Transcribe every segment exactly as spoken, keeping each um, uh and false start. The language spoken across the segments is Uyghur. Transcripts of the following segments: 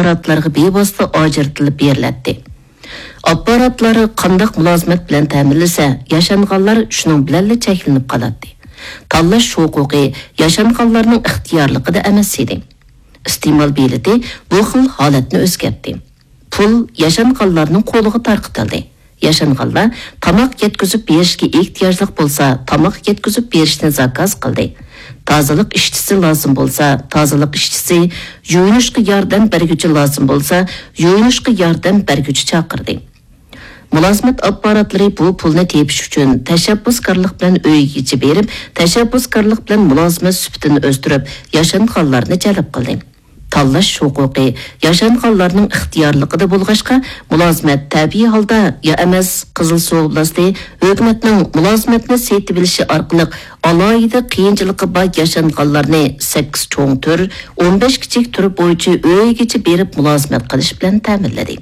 ئاپپاراتلارغا بىۋاسىتە ئاجرىتىلىپ بېرىلەتتى. ئاپپاراتلار قانداق مۇلازىمەت بىلەن تەمىنلىسە، ياشانغانلار شۇنىڭ بىلەنلا چەكلىنىپ قالاتتى. تاللاش ھوقۇقى ياشانغانلارنىڭ ئىختىيارلىقىدا ئەمەس ئىدى. ئىستېمال بېلىتى بۇ خىل ھالەتنى ئۆزگەرتتى. پۇل ياشانغانلارنىڭ قولىغا تارقىتىلدى. ياشانغانلار تاماق يەتكۈزۈپ بېرىشكە ئېھتىياجلىق بولسا، تاماق يەتكۈزۈپ بېرىشنى زاكاز قىلدى. تازىلىق ئىشچىسى لازىم بولسا، تازىلىق ئىشچىسى، يۇيۇنۇشقا ياردەم بەرگۈچى لازىم بولسا، يۇيۇنۇشقا ياردەم بەرگۈچى چاقىردى. مۇلازىمەت ئاپپاراتلىرى بۇ پۇلنى تېپىش ئۈچۈن تەشەببۇسكارلىق بىلەن ئۆيگىچە بېرىپ، تەشەببۇسكارلىق بىلەن مۇلازىمەت سۈپىتىنى ئۆستۈرۈپ، ياشانغانلارنى جەلپ قىلدى. تاللاش ھوقۇقى ياشانغانلارنىڭ ئىختىيارلىقىدا بولغاچقا، مۇلازىمەت تەبىئىي ھالدا يا ئەمەس، قىزىل سۇ ئوبلاستى ھۆكۈمەتنىڭ مۇلازىمەتنى سېتىۋېلىشى ئارقىلىق ئالاھىدە قىيىنچىلىقى بار ياشانغانلارنى سەككىز چوڭ تۈر، ئون بەش كىچىك تۈر بويىچە ئۆيگىچە بېرىپ مۇلازىمەت قىلىش بىلەن تەمىنلىدى.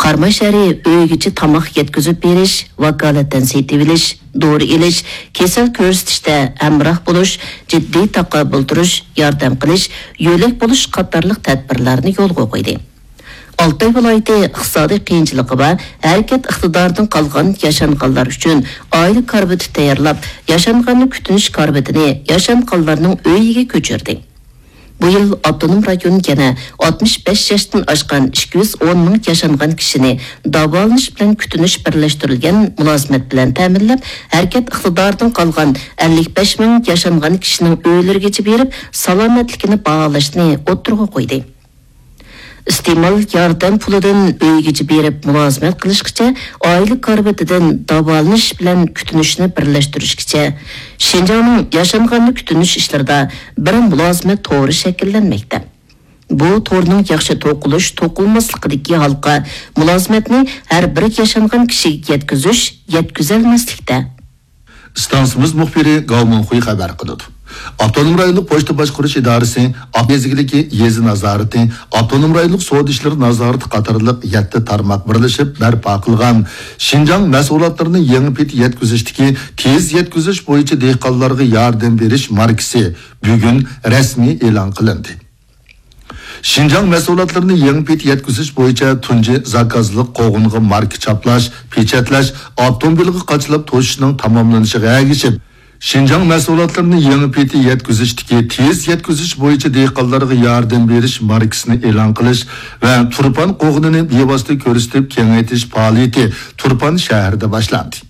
قاراماي شەھىرى ئۆيگىچە تاماق يەتكۈزۈپ بېرىش، ۋاكالىتەن سېتىۋېلىش، دورا ئېلىش، كېسەل كۆرسىتىشتە ھەمراھ بولۇش، جىددىي تاقابىل تۇرۇش، ياردەم قىلىش، يۆلەك بولۇش قاتارلىق تەدبىرلەرنى يولغا قويدى. ئالتاي ۋىلايىتى ئىقتىسادىي قىيىنچىلىقى بار، ھەرىكەت ئىقتىدارىدىن قالغان ياشانغانلار ئۈچۈن ئائىلە كارىۋىتى تەييارلاپ، ياشانغاننى كۈتۈنۈش كارىۋىتىنى ياشانغانلارنىڭ ئۆيىگە كۆچۈردى. بۇ يىل ئاپتونوم رايون يەنە ئاتمىش بەش ياشتىن ئاشقان ئىككى يۈز ئون مىڭ ياشانغان كىشىنى داۋالىنىش بىلەن كۈتۈنۈش بىرلەشتۈرۈلگەن مۇلازىمەت بىلەن تەمىنلەپ، ھەرىكەت ئىقتىدارىدىن قالغان ئەللىك بەش مىڭ ياشانغان كىشىنىڭ ئۆيلىرىگىچە بېرىپ، سالامەتلىكىنى باھالاشنى ئوتتۇرىغا قويدى. ئىستېمال ياردەم پۇلىدىن ئۆيگىچە بېرىپ مۇلازىمەت قىلىشقىچە، ئائىلە كارىۋىتىدىن داۋالىنىش بىلەن كۈتۈنۈشنى بىرلەشتۈرۈشكىچە، شىنجاڭنىڭ ياشانغاننى كۈتۈنۈش ئىشلىرىدا بىر مۇلازىمەت تورى شەكىللەنمەكتە. بۇ تورنىڭ ياخشى توقۇلۇش، توقۇلماسلىقىدىكى ھالقا مۇلازىمەتنى ھەر بىر ياشانغان كىشىگە يەتكۈزۈش، يەتكۈزەلمەسلىكتە. ئىستانسىمىز مۇخبىرى گاۋ مىڭخۇي خەۋەر قىلىدۇ. ئاپتونوم رايونلۇق پوچتا باشقۇرۇش ئىدارىسى، ئاپتونوم يېزا نازارىتى، ئاپتونوم رايونلۇق سودا ئىشلىرى نازارىتى قاتارلىق يەتتە تارماق بىرلىشىپ بەرپا قىلغان شىنجاڭ مەھسۇلاتلىرىنى يېڭى پېتى يەتكۈزۈشتىكى تېز يەتكۈزۈش بويىچە دېھقانلارغا ياردەم بېرىش ماركىسى بۈگۈن رەسمىي ئېلان قىلىندى. شىنجاڭ مەھسۇلاتلىرىنى يېڭى پېتى يەتكۈزۈش بويىچە تۇنجى زاكازلىق قوغۇنغا ماركا چاپلاش، پېچەتلەش، ئاپتوموبىلغا قاچىلاپ توشۇشنىڭ تاماملىنىشىغا ئەگىشىپ، شىنجاڭ مەھسۇلاتلىرىنى يېڭى پېتى يەتكۈزۈشتىكى تېز يەتكۈزۈش بويىچە دېھقانلارغا ياردەم بېرىش ماركىسىنى ئېلان قىلىش ۋە تۇرپان قوغۇنىنى بىۋاسىتە كۆرسىتىپ كېڭەيتىش پائالىيىتى تۇرپان شەھىرىدە باشلاندى.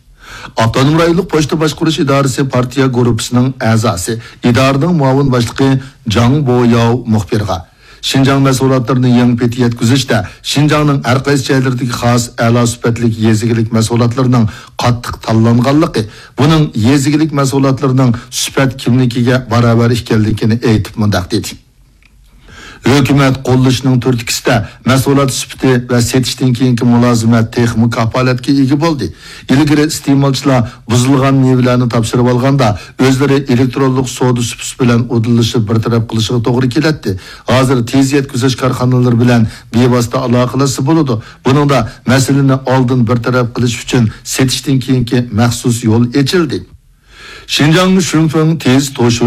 ئاپتونوم رايونلۇق پوچتا باشقۇرۇش ئىدارىسى پارتىيە گۇرۇپپىسىنىڭ ئەزاسى، ئىدارىنىڭ مۇئاۋىن باشلىقى جاڭ بوياۋ مۇخبىرغا، شىنجاڭ مەھسۇلاتلىرىنى يېڭى پېتى يەتكۈزۈشتە شىنجاڭنىڭ ھەر قايسى جايلىرىدىكى خاس ئەلا سۈپەتلىك يېزا ئىگىلىك مەھسۇلاتلىرىنىڭ قاتتىق تاللانغانلىقى، بۇنىڭ يېزا ئىگىلىك مەھسۇلاتلىرىنىڭ سۈپەت كىملىكىگە باراۋەر ئىكەنلىكىنى ئېيتىپ مۇنداق دېدى. ھۆكۈمەت قوللىشىنىڭ تۈرتكىسىدە مەھسۇلات سۈپىتى ۋە سېتىشتىن كېيىنكى مۇلازىمەت تېخىمۇ كاپالەتكە ئىگە بولدى. ئىلگىرى ئىستېمالچىلار بۇزۇلغان مېۋىلەرنى تاپشۇرۇۋالغاندا، ئۆزلىرى ئېلېكترونلۇق سودا سۇپىسى بىلەن ئۇدۇللىشىپ بىر تەرەپ قىلىشىغا توغرا كېلەتتى. ھازىر تېز يەتكۈزۈش كارخانىلىرى بىلەن بىۋاسىتە ئالاقىلەشسە بولىدۇ. بۇنىڭدا مەسىلىنى ئالدىن بىر تەرەپ قىلىش ئۈچۈن سېتىشتىن كېيىنكى مەخسۇس يول ئېچىلدى. شىنجاڭ شۈنفېڭ تېز توشۇ